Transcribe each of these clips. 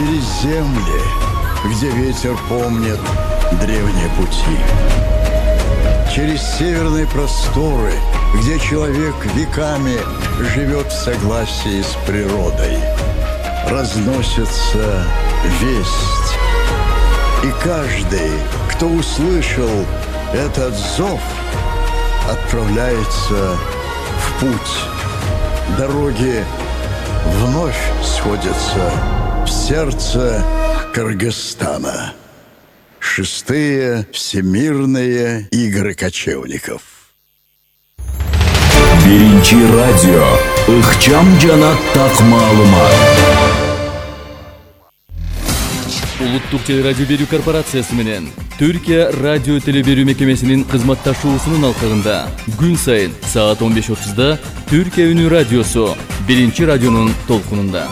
через земли, где ветер помнит древние пути. Через северные просторы, где человек веками живет в согласии с природой. Разносится весть. И каждый, кто услышал этот зов, отправляется в путь. Дороги вновь сходятся в сердце Кыргызстана. 6-е Всемирные игры кочевников. Биринчи радио. Ыкчам жана так маалымат. Улуттук телерадио берүү корпорациясы менен Түркия радио телеберүү мекемесинин кызматташуусунун алкагында күн сайын саат 15:30 Түркия үнү радиосу биринчи радионун толкунунда.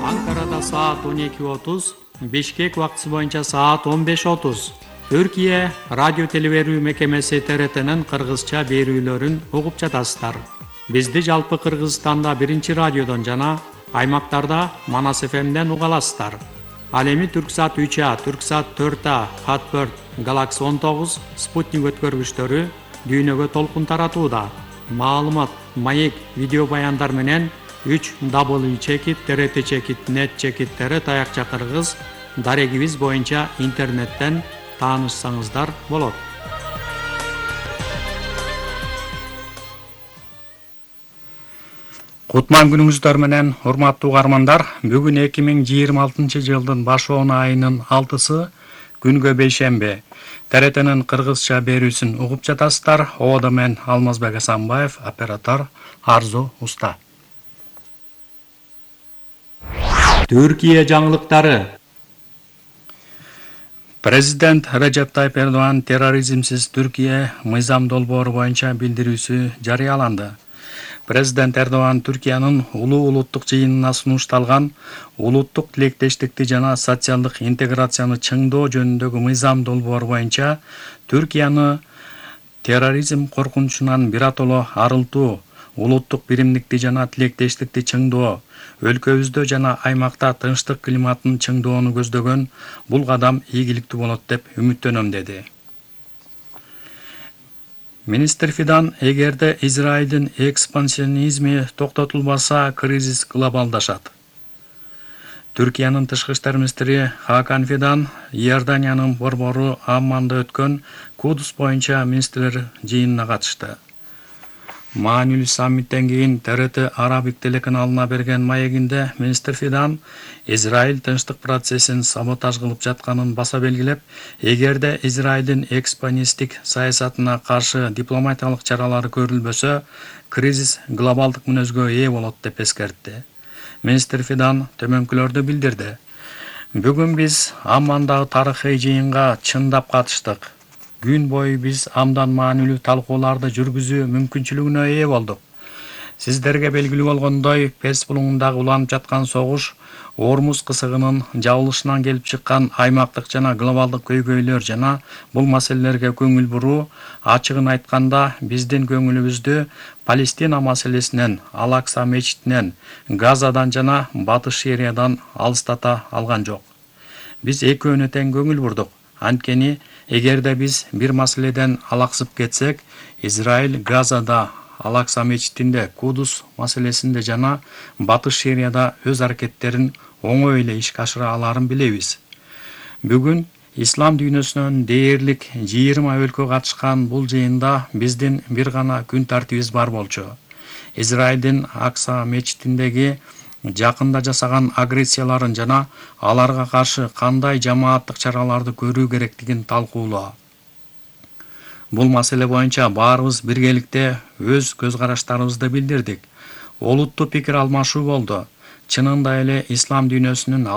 Анкарада саат 12:30, Бишкек убактысы боюнча саат 15:30. Түркия радио телеберүү мекемеси ТРТнын кыргызча берүүлөрүн угуп жатасыздар. Бизди жалпы Кыргызстанда биринчи радиодон жана аймактарда Манас ФМден уга аласыздар. Ал эми Түрксат 3А, Түрксат 4А, Хатберт, Galaxy 19, Спутник өткөргүчтөрү дүйнөгө толкун таратууда. Маалымат, маек, видео баяндар менен 3w.trt.net таякча кыргыз дарегибиз боюнча интернеттен таанышсаңыздар болот. Кутман күнүңүздөр менен урматтуу угармандар, бүгүн 2026 жылдын башоон айынын 6-сы күнгө бейшемби. ТРТнын кыргызча берүүсүн угуп жатасыздар. Оодо мен Алмазбек Асанбаев, оператор Арзу Уста. Түркия жаңылыктары. Президент Режеп Тайып Эрдоган терроризмсиз Түркия мыйзам долбоору боюнча билдирүүсү жарыяланды. Президент Эрдоган Түркиянын улуттук жыйынына сунушталган улуттук тилектештикти жана социалдык интеграцияны чыңдоо жөнүндөгү мыйзам долбоору боюнча Түркияны терроризм коркунучунан биротоло арылтуу, улуттук биримдикти жана тилектештикти чыңдоо, өлкөбүздө жана аймакта тынчтык климатын чыңдоону көздөгөн бул кадам ийгиликтүү болот деп үмүттөнөм деди. Министр Фидан, эгерде Израилдин экспансионизми токтотулбаса, кризис глобалдашат. Түркиянын тышкы иштер министри Хакан Фидан Иорданиянын борбору Амманда өткөн Кудус боюнча министрлер жыйынына катышты. Маанилүү саммиттен кийин ТРТ Арабик телеканалына берген маегинде министр Фидан Израиль тынчтык процессин саботаж кылып жатканын баса белгилеп, эгерде Израилдин экспансионисттик саясатына каршы дипломатиялык чаралары көрүлбөсө, кризис глобалдык мүнөзгө ээ болот деп эскертти. Министр Фидан төмөнкүлөрдү билдирди. Бүгүн биз Аммандагы тарыхый жыйынга чындап катыштык. Күн бою биз абдан маанилүү талкууларды жүргүзүү мүмкүнчүлүгүнө ээ болдук. Сиздерге белгилүү болгондой, Перс булуңундагы уланып жаткан согуш, Ормуз кысыгынын жабылышынан келип чыккан аймактык жана глобалдык көйгөйлөр жана бул маселелерге көңүл буруу, ачыгын айтканда, биздин көңүлүбүздү Палестина маселесинен, Ал-Акса мечитинен, Газадан жана Батыш Сириядан алыстата алган жок. Биз экөөнө тең көңүл бурдук. Анткени, эгерде биз бир маселеден алаксып кетсек, Израиль Газада, Ал-Акса мечитинде, Кудус маселесинде жана Батыш Сирияда өз аракеттерин оңой эле ишке ашыра аларын билебиз. Бүгүн ислам дүйнөсүнөн дээрлик 20 өлкө катышкан бул жыйында биздин бир гана күн тартибиз бар болчу. Израилдин Акса мечитиндеги жакында жасаган агрессияларын жана аларга каршы кандай жамааттык чараларды көрүү керектигин талкуулоо. Бул маселе боюнча баарыбыз биргеликте өз көз караштарыбызды билдирдик. Олуттуу пикир алмашуу болду. Чынында эле ислам дүйнөсүнүн